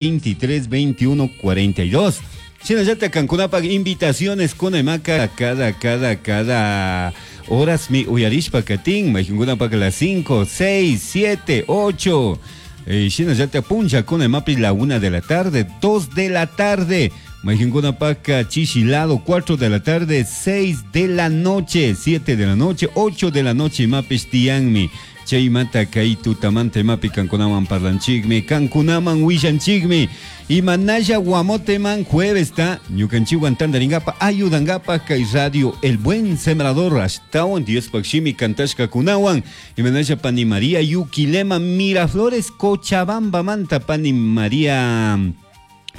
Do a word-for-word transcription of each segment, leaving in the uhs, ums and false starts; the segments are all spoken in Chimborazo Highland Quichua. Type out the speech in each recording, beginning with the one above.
veintitrés veintiuno cuarenta y dos. Shinallata kankunapak invitaciones kunamaka cada, cada, cada horas mi uyarishpa katin, mayjunkunapak las cinco, seis, siete, ocho. Eh, shinallata puncha kunamapi la una de la tarde, dos de la tarde. Mayjunkunapak chichilado, cuatro de la tarde, seis de la noche, siete de la noche, ocho de la noche, mapis tianmi. Chaymanta kay tutamanta imapi kankunaman parlanchikmi, kankunaman willanchikmi. Imanalla guamoteman jueves ta ñukanchikwan tantaringapa ayudangapa kay radio El Buen Sembrador ashtawan Diospaq shimi kantashkakunawan. Imanalla pani María Yuquilema Miraflores Cochabamba manta pani María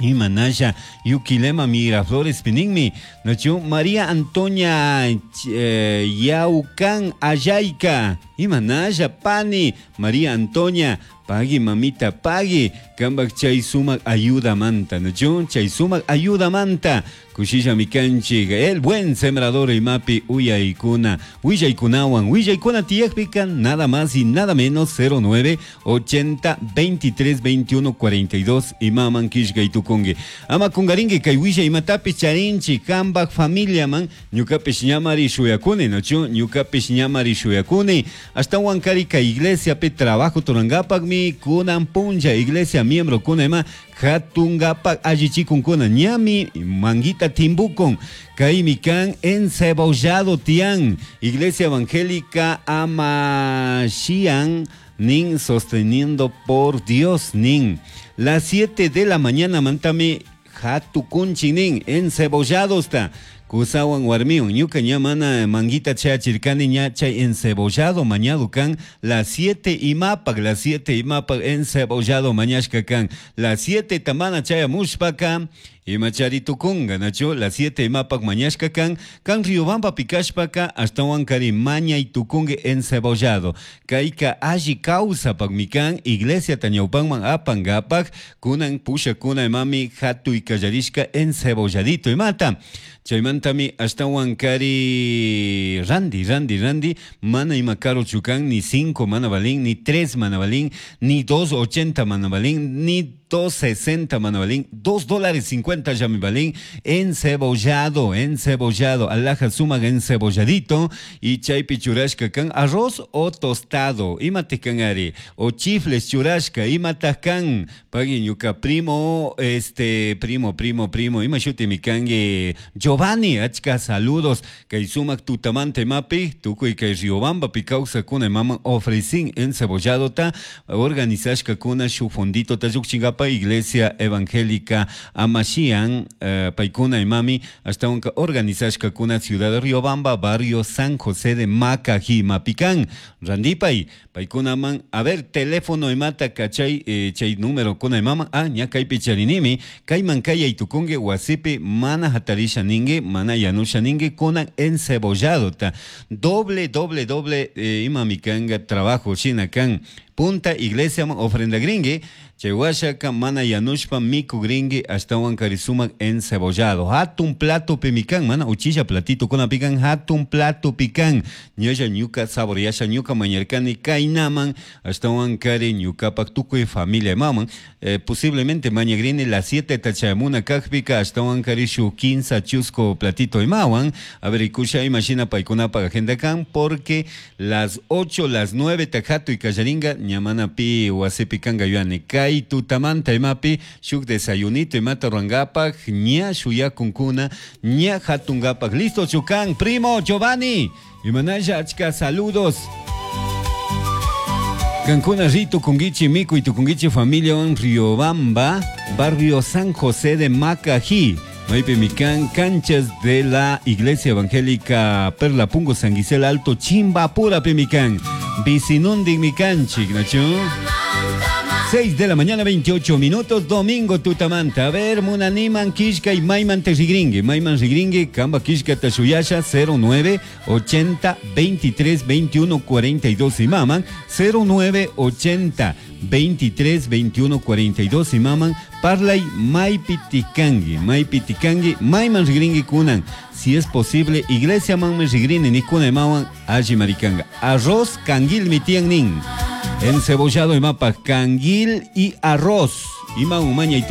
Imanalla Yuquilema Miraflores pininmi. Nachu María Antonia, eh, Yaucán Ayayca. Imanalla pani María Antonia pagui mamita pagui kambak chay sumak ayuda manta. Nachu chay sumak ayuda manta. Kushilla mikanchik El Buen Sembrador imapi uyaykuna willaykunawan willaykuna tiyakpika nada más y nada menos cero nueve ochenta veintitrés veintiuno cuarenta y dos imaman kishkaytukunki. Ama kungarinki kay willay imatapi charinchi kambak familia man ñukapish ñamari shuyakuni nachu ñukapish ñamari shuyakuni ashtawan kari kay iglesia pi trabajo turangapakmi kunan punlla iglesia miembro kuna ima hatungapak allichikunkuna ñami manguita timbukon kaymi kan encebollado tian Iglesia Evangélica Amashian nin sosteniendo por Dios nin las siete de la mañana mantami hatukunchi nin encebollado está kusawan warmiwan ñuka ña mana manguita chachirkani ña chay encebollado mañado kan las siete imapak las siete imapak encebollado mañashka kan las siete tamana chayamushpaka imachari tukunga nacho las siete imapak mañashka kan kan Riobamba pikashpaka ashtawan kari mañay tukungue encebollado kayka alli kawsapak mikan iglesia tañawpanman apangapak kunan pusha kuna imami hatuy kallarishka encebolladito imata chaymantami ashtawan kari randi randi randi mana ima caro chukan ni cinco mana balín ni tres mana balín ni dos ochenta mana balín ni dos sesenta mana balín dos dólares cincuenta ya mi balín encebollado encebollado alhaja sumaga encebolladito y chaypi churashka kan arroz o tostado imate kan ari o chifles churashka imata kan pagui ñuka primo este primo primo primo ima shuti mi kangi Giovanni achka saludos kay sumak tutamante mapi tukuy kay Riobamba pi kawsakuna mama ofrecin encebollado ta organizashka kuna shu fondito ta llukchingapa Iglesia Evangélica Amashian eh, paikuna imami hasta unka organizashka kuna ciudad de Riobamba barrio San José de Macají Mapicán randipay paikuna man a ver teléfono imata kachay eh, chay número kuna imama ah ña kaypi charinimi kayman kayay tukungue wasipi mana hatarisha ningue mana yanusha ningue kuna encebollado ta doble doble doble eh, imami kanga trabajo shina kan punta iglesia man ofrenda gringue Chewashaka mana yanushpa miku gringue ashtawan karisumak encebollado. Hatun plato pimikan, mana uchilla platito kuna pican, hatun plato pican. Ñalla ñuka saboreasha ñuka mañarkani kainaman, ashtawan kari ñukapak tukuy familia maman. Eh, posiblemente mañagrini las siete tachamuna kajpika, ashtawan kari shu quinza chusco platito imawan. A ver, ikusha imagina paikunapa agenda kan, porque las ocho, las nueve tajato y kallaringa, ñamana pi wasipi kanga yuani. Kai tutamanta imapi shuk desayunito imata ruangapak ña shuyakunkuna ña hatungapak listo chukan primo Giovanni imanalla achka saludos Cancuna Rito Kungichi Miku y Tukungichi familia en Riobamba barrio San José de Macají Maipe Micán, canchas de la Iglesia Evangélica Perla Pungo San Gisela Alto Chimbapura Pemicán Vicinundik Micanchi Nacho seis de la mañana, veintiocho minutos, domingo tutamanta. A ver, munaniman, kishka y maiman terigringue. Maiman rigringue, kamba kishka tashuyasha, cero nueve ochenta veintitrés veintiuno cuarenta y dos y maman, cero nueve ochenta veintitrés veintiuno cuarenta y dos y maman, parlay maipitikangi, maipitikangi, maiman rigringue kunan. Si es posible, iglesia manme rigrini ni kuna maman, allí maricanga. Arroz canguil mitian nin. Encebollado y mapa, canguil y arroz. Imawan mañay